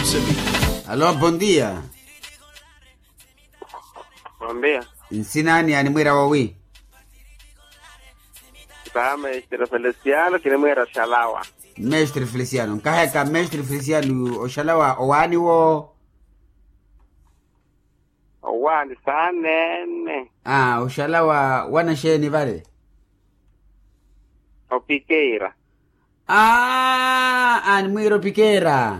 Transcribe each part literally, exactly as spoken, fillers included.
Alo, bondia. Bondia. Nsinani animwira wowi? Taa mestre feliciano kinimwira oxalawa. Mestre feliciano nkaheka mestre feliciano oxalawa owaani wo? Owaani saanene. Aa oxalawa wanaxeeni vale? Opikeira. Aa animwiira opikeira.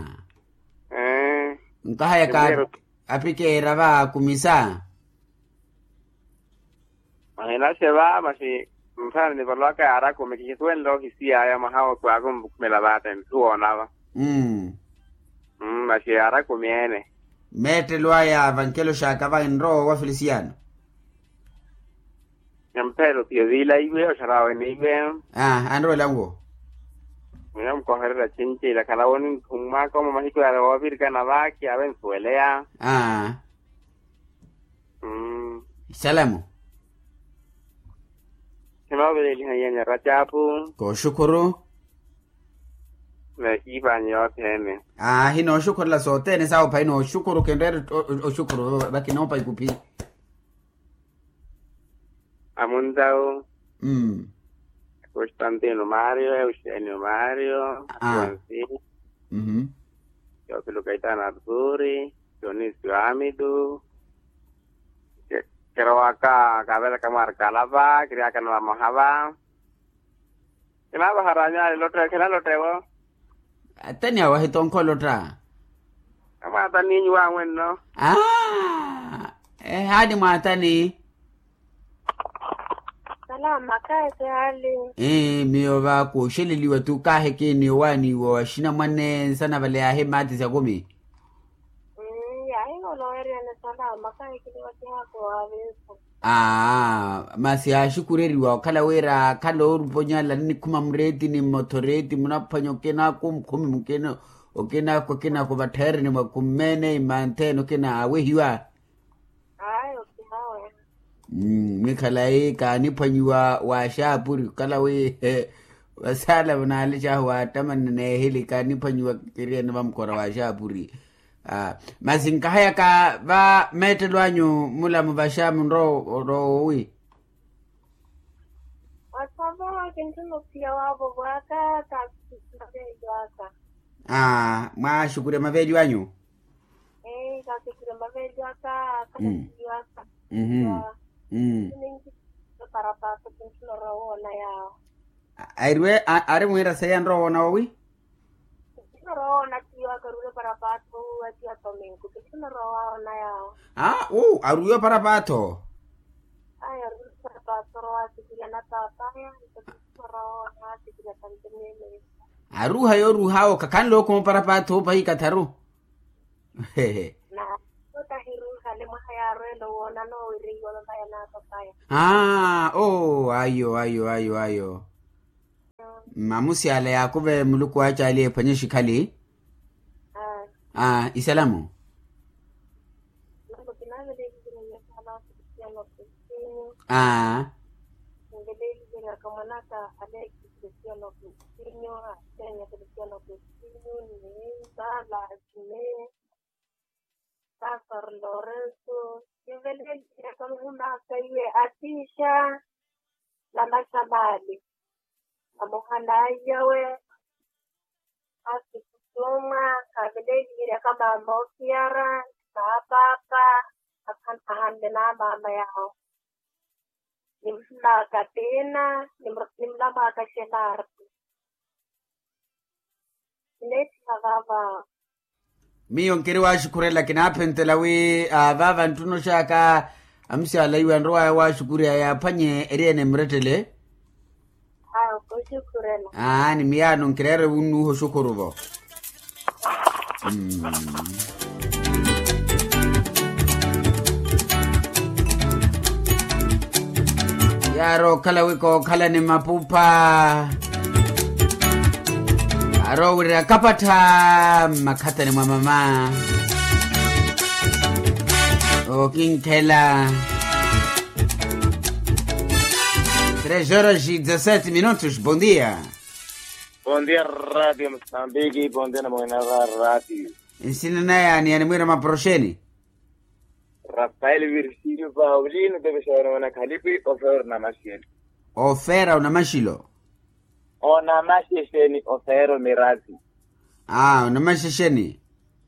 Nkahayaka apikeera va kumisa. Mahinaxe va maxi nthana nivalowaka yaari akumi kixisuwenle ohisiyaya mwaha otu akumvukhumela vate nthu woona va. Maxi yaari akumi ene. Meettelo aya vankelo xaaka va enrowa wa felisiano. Emphelo piyo viilaiwe oxarawe niiwe. Anrowela nwo. Mwina mukohererya cinci ilakhala woni nthummwaka omo mahiku yale woovirikana vaakhi ave nsuweleya. Salamu. Khinooveleeliha nyanya racapu. Kooxukhuru. Veekiipanyi yothene. Aa hinooxukhurela sothene sawo phayi nooxukhuru kinreere oxukhuru vakinoopa ikuphi. Amuntawu. Constantino mario euxenio mario. Akonsi. Teofilo kaitano arturi. Dionisio amitu. Kirowaka kavelaka mwarkala va kiryakana vamoha va. Kinaavaha raanyu ale lotte khinalotte vo. Atani awahi tonkho lotta. Amwaatani nyuwa amwenno. Aa ehaani mwaatani. Salama kahi sihali. Ee miyo va kooxeleliwa tu kahi kiini owaaniwa wa xinamwane nsana vale yaahi mmaati syakumi. Yaahi oloweryani salama kahi kinivakiha koowavinsa. Aa masi yaaxukureriwa okhala wira akhala ooruponyala nnikhuma mureeti ni mmothoreeti munaphwanya okina akumkhumi mukina okina akwa okina akwa vattheereni mwa kummeene imantheene okina awehiwa. Ayo kihawe. Mwikhalayi kaaniphwanyiwa waaxaapuri okhala wi vasaala vanaalecahu waattamanna neehili kaaniphwanyiwa kiriyene vamukhora waaxaapuri. Masi nkahayaka va meettelo anyu mulamu vaxa munrowa owi? Wasava kintthuna ophiya waavo vwaka kaasikhula veeliwaka. Mwaaxukurya maveeliwanyu. Ee kaasikhula maveeliwaka kaasikhula. Parapaato kintthuna orowa woona yaawo. Airwe ari mwiira seiya nrowa woona wowi? Kintthuna orowa woona tiyo akaruule parapaato atiya tominko kintthuna orowa woona yaawo. Aa uu aruwiwa parapaato. Ayo aruwiwa parapaato orowa asikhula na paapaya. Aruuha yooruuh'awe khakhanle okhuma oparapaatho pahi ikatharu. Hehe. Na otahiruuhale mwaha yaarweela owoona noowirihiwa mavaya naapapaya. Aa oo ayo ayo ayo ayo. Mamusyala yaakuve muluku waacaali ephwanye xikhali. Aa isalamu. Aa. Nveleeliveryaka mwanaka aleki kristiano kristiano aseenya kristiano kristiano ni sala ni pastor lorenso. Nveleeliveryaka muhunaka iye atiixa na maxamali. Amuhanaiyawe. Asikutuma kaveleeliveryaka mama ofiyara na paapa. Ahanle na mama yawo. Nimulaka tina. Nimulaka xelarti. Kineettiha vava. Miyo nkiri waaxukhurela kinaaphentela wi vaava nttunoxaka. Amusyala iwe anrowaya waaxukurya yaaphwanye eriyene emurettele. Aa ni miyaano nkireere wunnuuha oxukhuru vo. Yaari okhala wi kookhalani mapupha. Aari owirya kapattha mmakhatani mwa mama. Okinkhela. Tres horas e dezassete minutos bondia. Bondia radio mosambiki bondia na mwenara radio. Nsina naya ni animwira maporoxeni. Rafael virgilio paulino tepexawana wanakhalipi ofero namaxiyeni. Ofera unamaxilo. Onamaxexeni ofero mirasi. Ah, onamaxexeni.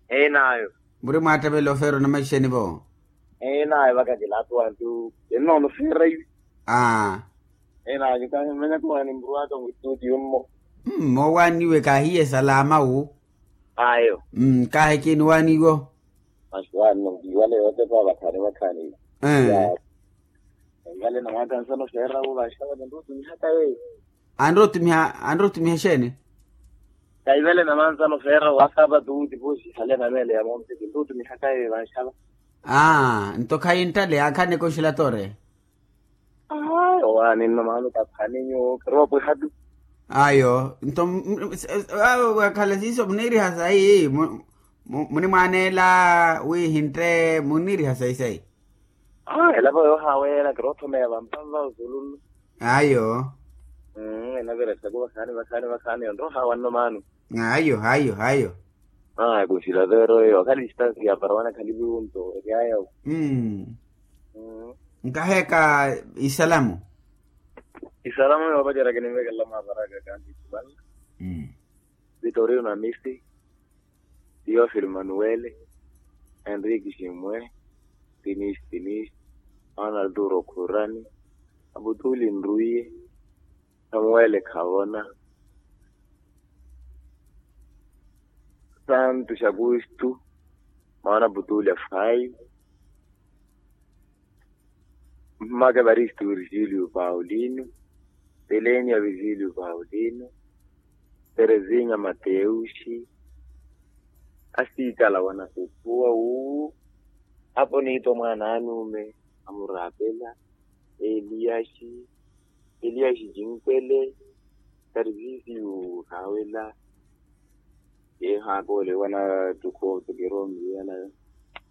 Enayo. Muri mwattavela ofero namaxixeni vo. Enayo vakakilatu antu enono fera ivi. Ah. Enayo kahimmenya kuwani muru aka mwitutiyo mmo. Mmo waniwe kahiye salama wu. Ayo. Kahi kini waniwo. Masi wani nongiwale yote pa vakhani vakhani. Kaivale na mwaka nsano fera wu vaxava nondutumihaka ye. Anrotumiha anrotumiha xeeni? Kaivele na manzano feera wa saapatu wu tipuuxi ihale na meele ya mompiki nrotumihaka eyo evanxava. Aa nto khayi nttale yaakhaneke oxila tore. Ayo waani nno maano taphani nyuwo khiroopwiha tu. Ayo nto. Wakhala siiso muniiriha sayi munimwaneela wi hintte muniiriha sayi sayi. Aa elapa yoohaweela kiroothomeya vampanva osulunnu. Ayo. Enaveresaku vakhaani vakhaani vakhaani onrohawa nno maano. Ayo ayo ayo. Aa kunsila veero eyo akhali distansi ya para wana khali viwunto eryaya. Nkaheeka isalamu. Isalamu yoopacerya kinimvekelela mwaparaka kanti isumanla. Vitorino na misi. Tiofili manuwele, henriki ximwe, tinisi tinisi, arnaldo rokhurani, aputuli nruiye, samuwele khavona, santu xakustu, maana aputuli afayi, mmaka evaristu virgilio paulino, telenia virgilio paulino, terezinya mateuxi, asiikala wanasephuwa wu apo niitta omwaana anuume, amuraapela eliyaxi, eliyaxi jinkwele, tarisisiyu haawela. Yeehaaka ole wanattukhu otukiromiwela,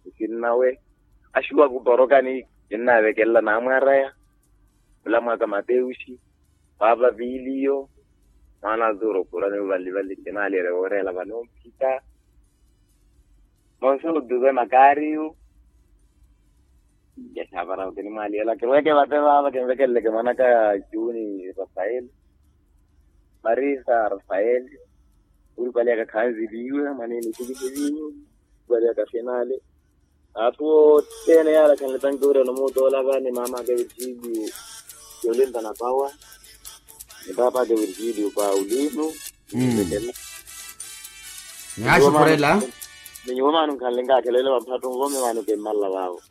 nsinnawe axiwaku porokani kinnaavekelela naamwaraya, olamwaka mateuxi, paapa piiliyo, mwaana a zuro khurani ovalivali kinaaleerya wooreela vano mphita. Monse otuve makaariyu. Njaxaapara okinimwaaliyela kirweke vate vaava kinvekeleleke mwanaka juni rafael, marisa rafael, uripalyaka khanziliwe mwanene itikisivinyu, uripalyaka finale. Atthu othene yaala khanletanke wira nomuutoolaka ni maamaka virgilio, yolinta napawa, ni paapaka virgilio paulino. Nihaaxukhurela. Ni nyuwo maano nkhanle nkaakhelelela vaphattu nvome maano kimmalala vaavo.